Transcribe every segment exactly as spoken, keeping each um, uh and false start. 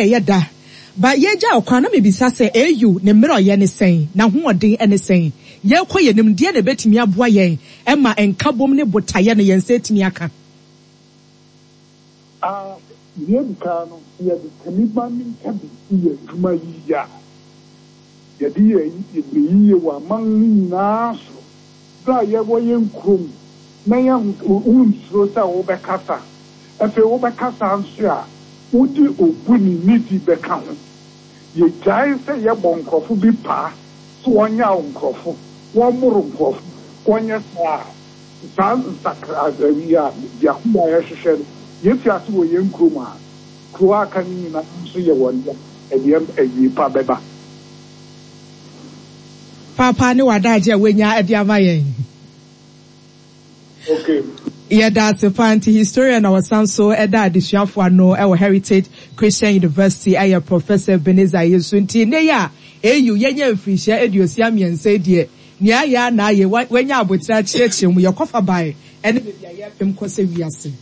Ɛyɛ da ba yɛgya ɔkwan na mebisa sɛ A U ne mmerɛ ɔyɛ ne sɛn na hoɔden ne sɛn yɛkɔ yɛn nim deɛ na ɛbɛtumi aboa yɛn ɛma nkabom ne botaeɛ no yɛn nsa atumi aka. Deɛ di kan no, yɛde kaniba ne nkabi yɛ adwuma yie a yɛde yɛ yie wɔ aman no nyinaa so berɛ a yɛwɔ yɛn kurom na yɛn wonsuro sɛ wobɛkasa. Afei wobɛkasa nso a, wode obu ne nidi bɛka ho. Yɛgyae sɛ yɛbɔ nkurɔfo bi paa sɛ wɔnyɛ wo nkurɔfo, wɔmmoro nkurɔfo, wɔnyɛ saa saa nsakra yi a biako a yɛhwehwɛ no, yɛfi ase wɔ yɛn kurom a kuro aka no nyinaa nso yɛ wɔn dea, ɛdeɛ awie pa bɛba. Papa ne wadagye a wanya de ama yɛn. Okay. Yɛda ase pa. Nti historian na wɔsan so ɛda adesuafo ano ɛwɔ Heritage Christian University ɛyɛ Professor Ebenezer Yesu. Nti ne yɛ a A U yɛnyɛ mfirihyia aduosia mmiɛnsa deɛ, nea ayɛ a na ayɛ wanya abotire akyerɛkyerɛ mu yɛkɔfa bae ɛne baabi a yɛpem kɔ sɛ wiase.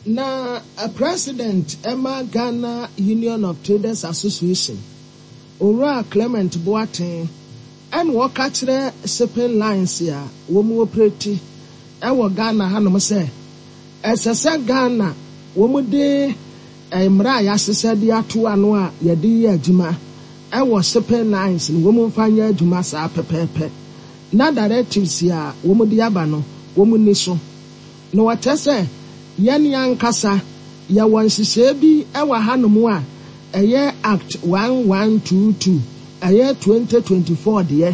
Na president ɛma Ghana Union of Traders Association, Owura Clement Boateng, ɛna wɔka kyerɛ shipping lines a wɔn operate ɛwɔ Ghana hanom sɛ ɛsɛ sɛ Ghana wɔn de mmara a yɛahyehyɛ de ato ano a yɛde yɛ adwuma ɛwɔ shipping lines no, wɔn mfa nyɛ adwuma saa pɛpɛɛpɛ, na directives a wɔn de aba no, wɔn ni so. Na wɔkyerɛ sɛ yɛn ankasa yɛwɔ nhyehyɛe bi ɛwɔ hanom a ɛyɛ Act one one two two, ɛyɛ twenty twenty-four deɛ,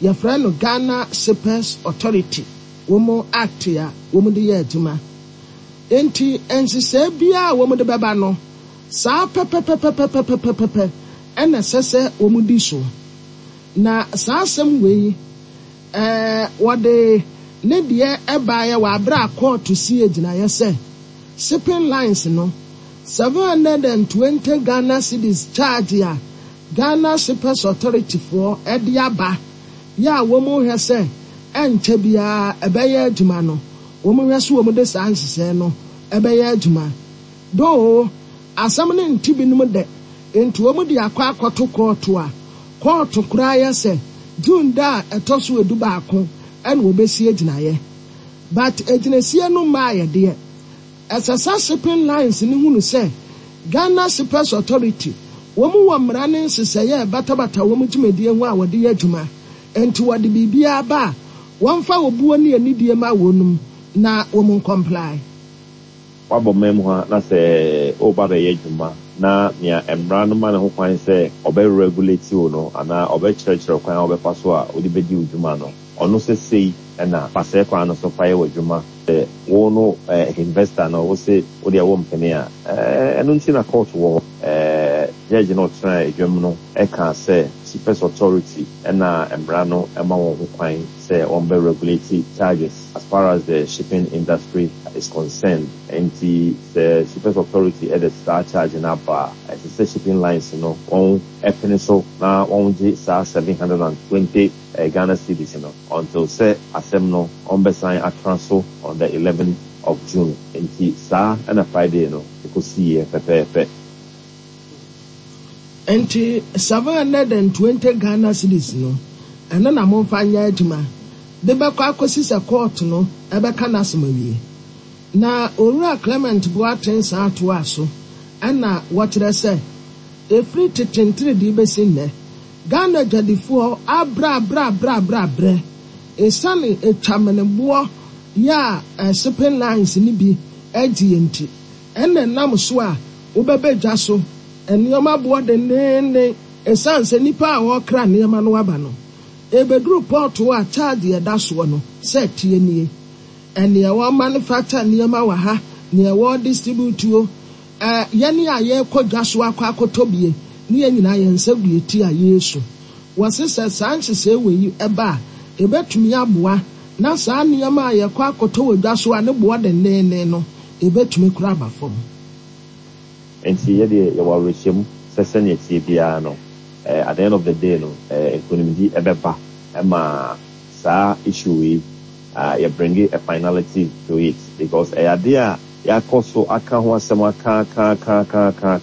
yɛfrɛ no Ghana Shippers Authority, wɔn act a wɔn de yɛ adwuma. Nti nhyehyɛe biara a wɔn de bɛba no saa pɛpɛpɛpɛpɛpɛpɛpɛ ɛna ɛsɛ sɛ wɔn di so. Na saa asɛm wei ɛɛ wɔde ne deɛ ɛbaeɛ wɔ abere a kɔɔto si gyinaeɛ sɛ shipping lines no seven hundred and twenty Ghana cedis charge a Ghana Shippers Authority foɔ ɛde aba yɛ a wɔn hwɛ sɛ ɛnkyɛ biara ɛbɛyɛ adwuma no, wɔn hwɛ so wɔn de saa nhyehyɛe no ɛbɛyɛ adwuma doo. Asɛm no nti binom dɛ nti wɔn de akɔ akɔto kɔɔto a kɔɔto koraa yɛ sɛ June da a ɛtɔ so edu baako ɛna wɔbɛsi agyinaeɛ, but agyinasie no mmaa yɛ deɛ ɛsɛ sɛ shipping lines ne hunu sɛ Ghana Shippers Authority wɔn wɔ mmara ne nhyehyɛeɛ a ɛbatabata wɔn dwumadie ho a wɔde yɛ adwuma. Nti wɔde biribiara ba a, wɔmfa obuo ne anidie ma wɔnum na wɔn ncomply. Wabɔ man mu ha na sɛ ɔreba bɛyɛ adwuma na nea mmara no ma ne ho kwan sɛ ɔbɛ regulate wo no anaa ɔbɛkyerɛkyerɛ kwan a wɔbɛfa so a wode bɛdi wo dwuma no, ɔno sɛ sei ɛna fa kwan no so fa yɛ w'adwuma. Sɛ wo no investor no, wo se wo deɛ wo mpene a, ɛno nti na court wɔ hɔ. Judge no ɔtena adwam no ɛka sɛ Shippers Authority ɛna mmara no ɛma wɔn ho kwan sɛ wɔn bɛ regulate charges as far as the shipping industry is concerned. Nti sɛ Shippers Authority ɛde saa charge no aba a, ɛsɛ sɛ shipping lines no wɔn ɛpene so na wɔn gye saa seven hundred and twenty Ghana cedis no until sɛ asɛm no wɔn bɛsan atena so on the eleventh of June. Nti saa ɛna Friday no ɛkɔsiiɛ pɛpɛɛpɛ. Nti seven hundred and twenty Ghana cedis no, ɛno na momfa nyɛ adwuma de bɛkɔ akɔsi sɛ court no ɛbɛka n'asɛm awie. Na Owura Clement Boateng san atoa so ɛna wɔkyerɛ sɛ efiri tetentere de bɛsi nnɛ, Ghana adwadifoɔ abrɛ abrɛ abrɛ abrɛ abrɛ esiane etwameneboɔ yɛ a shipping lines ni bi agye yɛn. Nti ɛna nam so a wobɛbɛ dwa so nneɛma boɔ dendeenden esiane sɛ nipa a wɔrekra nneɛma no aba no ebeduru port a charge ɛda soɔ no sɛ tie nie, ɛnea wɔn manufacture nneɛma wɔ ha, nea wɔn distribute o, ɛɛ yɛne a yɛrekɔ dwa so akɔ akɔtɔ bie ne yɛn nyinaa yɛn nsa gu eti a yɛresu. Wɔsi sɛ saa nhyehyɛe wɔ yi ɛba a, ebetumi aboa na saa nneɛma a yɛkɔ akɔtɔ wɔ dwa so a ne boɔ dendeenden no ebetumi kora aba fam. Nti yɛdeɛ yɛwɔ awerɛhyɛmu sɛ sɛnea tie biara no, at the end of the day no, nkonimdi ɛbɛba ɛma saa issue yi uh, yɛ bring a finality to it, because ɛyɛ adeɛ a yɛakɔ so aka ho asɛm aka aka aka aka aka.